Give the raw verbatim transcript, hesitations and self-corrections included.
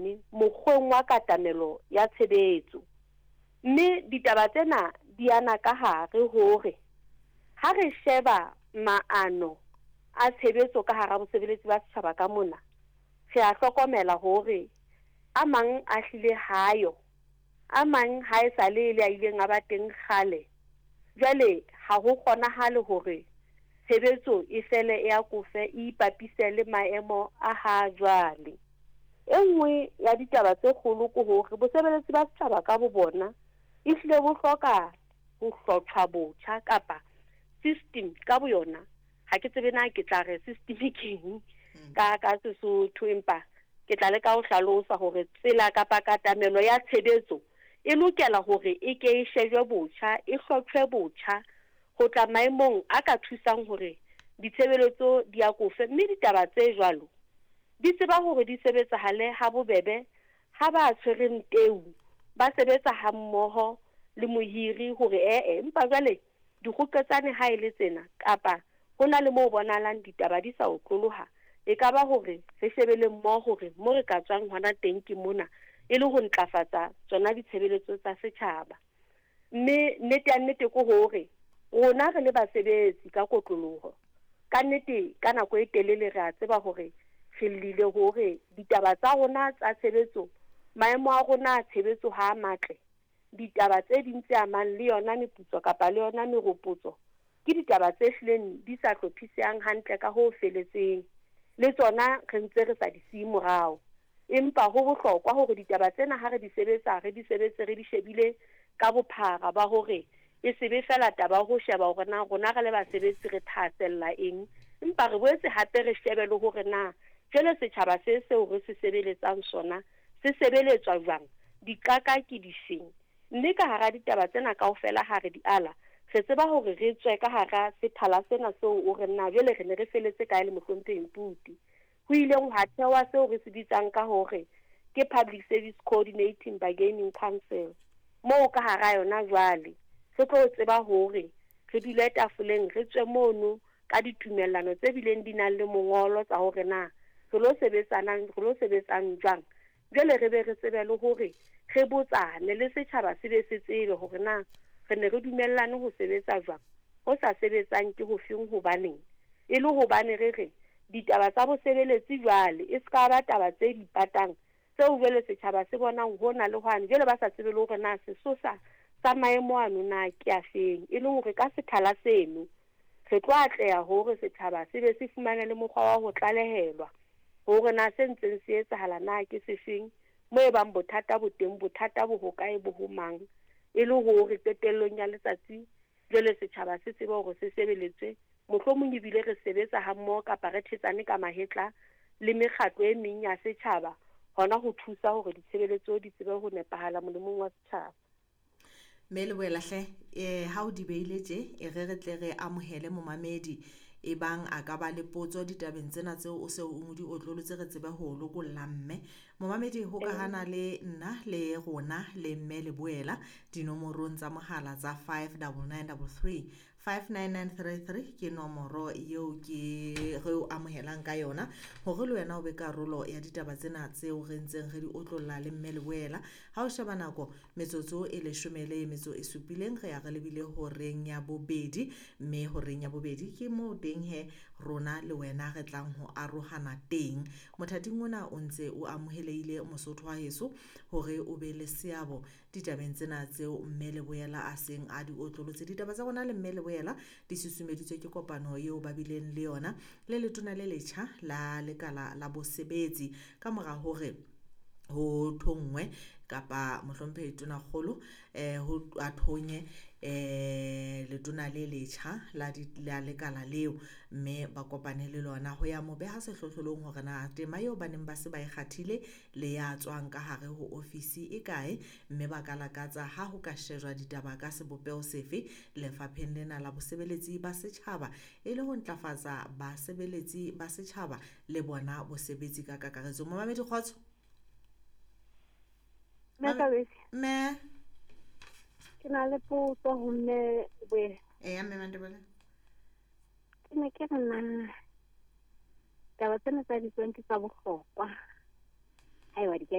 mane mokgweng wa katamelo ya tshebetso. Mme ditaba tsena di ana ka hare hore ha re sheba maano a tshebetso ka hara bosebeletsi ba setjhaba ka mona, re a hlokomela hore a mang a hlile hayo, a mang ha e sa le le a ileng a ba teng kgale. Jwale ha ho kgonahale hore tshebetso e fele e akofe e ipapise le maemo a ha jwale. E nngwe ya ditaba tse kgolo ke hore bosebeletsi ba setjhaba ka bo bona e hlile bo hloka ho hlotjhwa botjha kapa system ka boyona. Ha ke tsebe na ke tla re system ke eng ka ka Sesotho, empa ke tla leka ho hlalosa hore tsela kapa katamelo ya tshebetso e lokela hore e ke e shejwe botjha, e hlotjhwe botjha ho tla maemong a ka thusang hore ditshebeletso di akofe. Mme ditaba tse jwalo di tseba hore di sebetsahale ha bobebe ha ba tshwereng teu ba sebetsa hammoho le mohiri hore ee, empa jwale dikgoketsane ha e le tsena kapa ho na le moo bonahalang ditaba di sa otloloha, e ka ba hore re shebele mmoho hore mo re ka tswang hona teng ke mona, e le ho ntlafatsa tsona ditshebeletso tsa setjhaba. Mme nnete ya nnete ke hore rona re le basebetsi ka kotloloho, ka nnete ka nako e telele re a tseba hore re llile hore ditaba tsa rona tsa tshebetso, maemo a rona a tshebetso ha a matle. Ditaba tse ding tse amang le yona meputso kapa le yona meropotso ke ditaba tse hlileng di sa hlophisehang hantle ka ho feletseng, le tsona re ntse re sa di siye morao. Empa ho bohlokwa hore ditaba tsena ha re di sebetsa, re di sebetse re di shebile ka bophara ba hore e se be fela taba ho sheba hore na rona re le basebetsi re thahasella eng, empa re boetse hape re shebe le hore na jwale setjhaba se seo re se sebeletsang sona se sebeletswa jwang, diqaka ke difeng. Mme ka hara ditaba tsena kaofela ha re di ala, re tseba hore re tswe ka hara sethala sena seo o re na jwale re ne re feletse kae le mohlomphehi Mputi. Ho ileng hwa thewa seo re se bitsang ka hore ke Public Service Coordinating Bargaining Council, moo ka hara yona jwale re tlo tseba hore re dule tafoleng, re tswe mono ka ditumellano tse bileng di nang le mongolo tsa hore na re lo sebetsanang, re lo sebetsang jwang. Jwale re be re tsebe le hore re botsane le setjhaba se be se tsebe hore na re ne re dumellane ho sebetsa jwang, ho sa sebetsang ke ho feng, hobaneng. E le hobane re re ditaba tsa bosebeletsi jwale e ska ba taba tse di patang tseo jwale setjhaba se bonang hona le hwane, jwale ba sa tsebe le hore na sesosa sa maemo ano na ke a feng. E le hore ka sethala seno re tlo atleha hore setjhaba se be se fumane le mokgwa wa ho tlalehelwa hore na se ntseng se etsahala na ke sefeng, mo e bang bothata bo teng, bothata bo hokae, bo ho mang, e le hore qetellong ya letsatsi jwale setjhaba se tsebe hore se sebeletswe. Mohlomong ebile re sebetsa hammoho kapa re thetsane ka mahetla le mekgatlo e meng ya setjhaba hona ho thusa hore ditshebeletso di tsebe ho nepahala molemong wa setjhaba. Mme Leboela hle, eh ha o di beile tje, e re re tle re amohele momamedi e bang a ka ba le potso ditabeng tsena tseo o se o di otlolotse, re tsebe ho lokolla mme. Momamedi ho ka hana le nna le rona le mme Leboela dinomorong tsa mohala tsa five double nine double three, five nine nine three three ke nomoro eo ke re o amohelang ka yona hore le wena o be karolo ya ditaba tsena tseo re ntseng re di otlolla le mme Leboela. Ha o sheba nako metsotso e leshome le metso e supileng, re ya re lebile horeng ya bobedi, mme horeng ya bobedi ke moo teng he rona le wena re tlang ho arohana teng. Mothating ona o ntse o amohelehile Mosotho wa heso hore o be le seabo ditabeng tsena tseo mme Leboela a seng a di otlolotse. Ditaba tsa rona le mme Leboela di susumeditswe ke kopano eo ba bileng le yona le letona le letjha la lekala la bosebetsi ka mora hore ho thonngwe kapa mohlomphehi Tonakgolo eh ho a thonye eh letona le letjha la di la lekala leo, mme ba kopane le lona ho ya mo beha sehlohlolong hore na tema eo ba neng ba se ba e kgathile le ya tswang ka hare ho ofisi e kae, mme ba ka lakatsa ha ho ka shejwa ditaba ka sebopeho sefe lefapheng lena la bosebeletsi ba setjhaba e le ho ntlafatsa basebeletsi ba setjhaba le bona bosebetsi ka kakaretso. Momamedi kgotso. Mme ke na le potso ho mme Leboela. Eya mme Mandebele. Ke ne ke re na taba tsena tsa di-twenty tsa bohlokwa haeba di ka